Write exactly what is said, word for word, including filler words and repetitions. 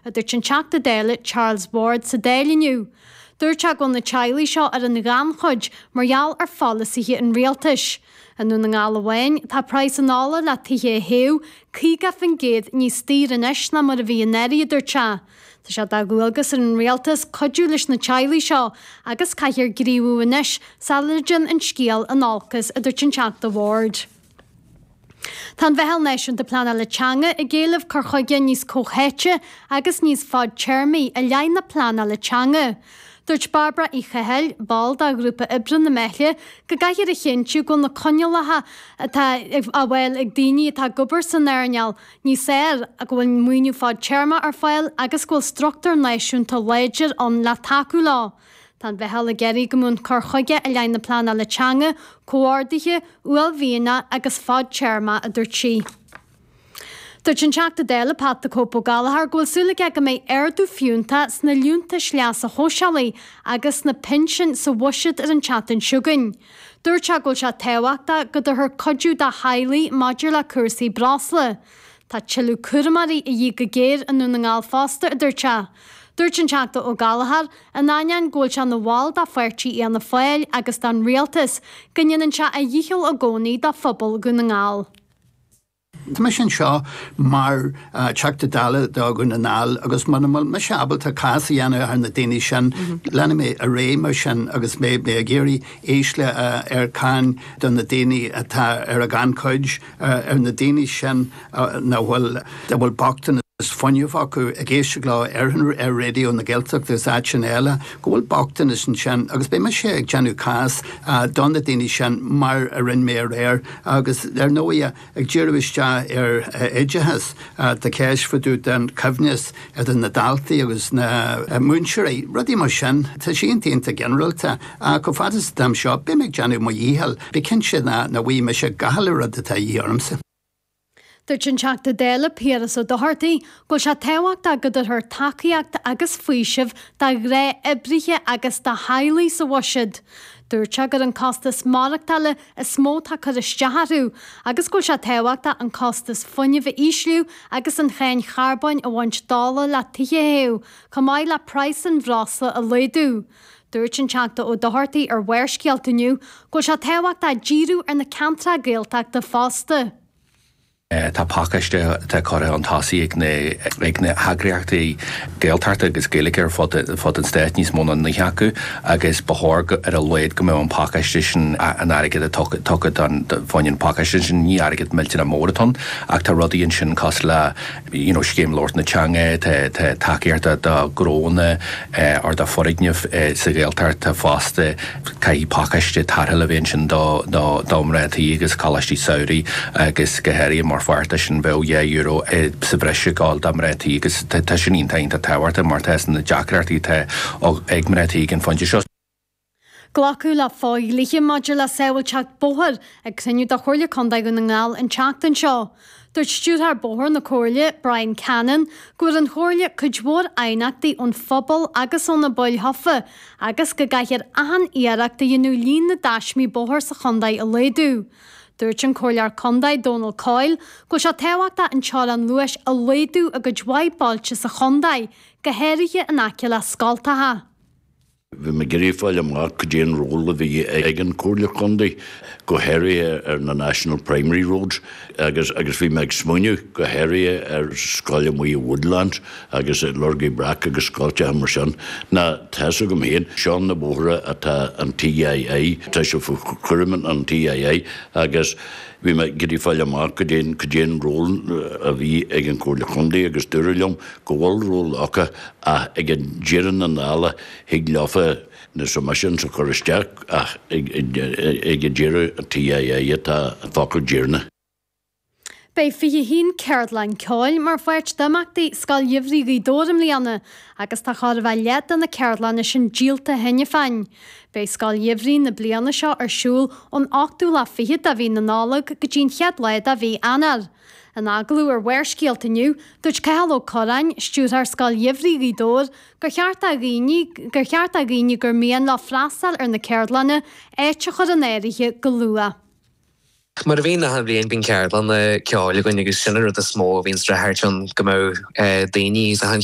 a dúirt an Teachta Dála Charles Ward sa Dáil inniu. Dúirt sé go bhfuil na teaghlaigh seo ar an ghannchuid mar gheall ar pholasaithe an rialtais. I nDún na nGall amháin, tá praghas an ola le tithe a théamh caoga faoin gcéad níos daoire anois ná mar a bhí anuraidh, a dúirt sé. Tá sé de dhualgas ar an rialtas cuidiú leis na teaghlaigh seo agus caithfear gníomhú anois sula dtéann an scéal in olcas, a dúirt an Teachta Ward. Tá an Mheitheal Náisiúnta Pleanála Teanga ag éileamh cur chuige níos comhtháite agus níos fadtéarmaí i leith na pleanála teanga. Dúirt Bairbre Uí Chathail, ball de ghrúpa oibre na Meithle, go gcaithfear a chinntiú go bhfuil na coinníollacha atá á bhfáil ag daoine atá ag obair san earnáil níos fearr, go bhfuil maoiniú fadtéarmach ar fáil agus go bhfuil struchtúr náisiúnta láidir ann le tacú leo. Tá an Mheitheal ag iarraidh go mbeadh an cur chuige i leith na pleanála teanga comhordaithe, uaillmhianach agus fadtéarmach, a dúirt sí. Dúirt an Teachta Dála Pat the Cope Ó Gallchóir go bhfuil súil aige go mbeidh ardú fiúntach sna liúntais leasa shóisialaigh agus sna pinsin sa bhuiséad ar an tseachtain seo chugainn. Dúirt sé go bhfuil sé tábhachtach go dtabharfar cuidiú do theaghlaigh maidir le cúrsaí breosla. Tá tuilleadh cúramóirí a dhíth go géar i nDún na nGall fosta, a dúirt sé. Dúirt an Teachta Ó Gallchóir, in ainneoin go bhfuil sé ina bhall de pháirtí Fhianna Fáil agus den Rialtas, go ndéanann sé a dhícheall i gcónaí do phobal Dhún na nGall. Tá mise anseo mar Teachta Dála do Dhún na nGall agus muna bhfuil mise ábalta cás a dhéanamh ar na daoine sin, leanfaidh mé ar aghaidh mar sin agus mé ag iarraidh ísle ar cháin do na daoine atá ar a gannchuid, ar na daoine sin nach bhfuil, a bhfuil bochtanas fuinnimh acu, ag éisteacht leo ar ar Raidió na Gaeltachta agus áiteanna eile, go bhfuil bochtanas ansin agus beidh mise ag déanamh cás do na daoine sin mar a rinne mé aréir agus ar ndóigh ag díriú isteach ar oideachas, tá ceist fá dtaobh den choibhneas idir na daltaí agus na múinteoirí, rudaí mar sin. Tá sé iontach iontach ginearálta ach chomh fada is atá anseo beidh mé ag déanamh mo dhícheall, bí cinnte nach bhfaighidh mise gach uile rud atá de dhíth ormsa. Dúirt an Teachta Dála Piaras Ó Dochartaigh go bhfuil sé tábhachtach go dtabharfar tacaíocht agus faoiseamh do ghnáth-oibrithe agus do theaghlaigh sa bhuiséad. Dúirt sé gur an costas maireachtála is mó atá ag cur isteach orthu agus go bhfuil sé tábhachtach an costas fuinnimh a ísliú agus an cháin charbóin a bhaint d'ola le tithe a théamh, chomh maith le praghas an bhreosla a laghdú. Dúirt an Teachta Ó Dochartaigh ar Bharrscéalta inniu go bhfuil sé tábhachtach díriú ar na ceantracha Gaeltachta fosta. Tá pacáiste atá curtha chun tosaigh ag na ag na heagraíochtaí Gaeltachta agus Gaeilge ar fud fud an stáit, níos mó ná naoi acu, agus ba chóir ar a laghad go mbeadh an pacáiste sin, an airgead a tugtha don fá choinne an pacáiste sin, ní airgead millteanach mór atá ann, ach tá rudaí ansin cosúil le you know scéim labhairt na teanga, tá tá tacaíocht do ghnónna or do foirgnimh sa Ghaeltacht fosta, caithfidh pacáiste tarrthála a bheith ansin do do do mná tí agus coláistí samhraidh agus go háirithe mar pháirt de sin bheadh dhá euro sa bhreis ag gabháil do mná tí agus tá sin iontach iontach tábhachtach mar tá na deacrachtaí atá ag mná tí ag an phointe seo. Glacadh le fodhlíthe maidir le sábháilteacht bóthair ag cruinniú de Chomhairle Contae Dhún na nGall an tseachtain seo. Dúirt Stiúrthóir Bóthair na Comhairle, Brian Cannon, go bhfuair an Chomhairle cuid mhór aighneachtaí ón phobal agus ó na baill thofa agus go gcaithfear achan iarracht a dhéanamh líon na dtaismí bóthair sa chontae a laghdú. Dúirt an Comhairleoir Contae Dónal Coyle go bhfuil sé tábhachtach an teorainn luais a laghdú i gcuid mhaith bailte sa chontae, go háirithe in aice le scoltacha. Bhí mé ag iarraidh fáil amach cad é an ról a bhí ag an Chomhairle Contae, go háirithe ar na National Primary Roads, agus agus bhí mé ag smaoineamh go háirithe ar scoil amuigh i Woodlands agus i Lorgaí Breac agus scoilteacha mar sin. Ná tá fhios agam féin, seo na bóithre atá an TII, tá sé faoi chúram an TII agus bhí mé ag iarraidh fáil amach cad é cad é an ról a bhí ag an Chomhairle Contae agus dúradh liom go bhfuil ról acu ach ag an deireadh na dála thig leofa na submissions a chur isteach ach ag ag an deireadh an TII atá an focal deireanach. Beidh fiche a haon ceardlann ceoil mar pháirt d'imeachtaí Scoil Gheimhridh Ghaoth Dobhair i mbliana agus tá chóir a bheith leath de na ceardlanna sin díolta cheana féin. Beidh Scoil Gheimhridh na bliana seo ar siúl ón ochtú lá fichead de mhí na Nollag go dtí an chéad lá de mhí Eanáir. In agallamh ar Bharrscéalta inniu, dúirt Cathal Ó Curráin, stiúrthóir Scoil Gheimhridh Ghaoth Dobhair, gur cheart do dhaoine gur cheart do dhaoine gur mian leo freastal ar na ceardlanna áit a chur in áirithe go luath. Mar a bhíonn achan bhliain bíonn ceardlanna ceoil againn agus sin an rud is mó a bhíonn streachailt ann go mbeadh daoine sa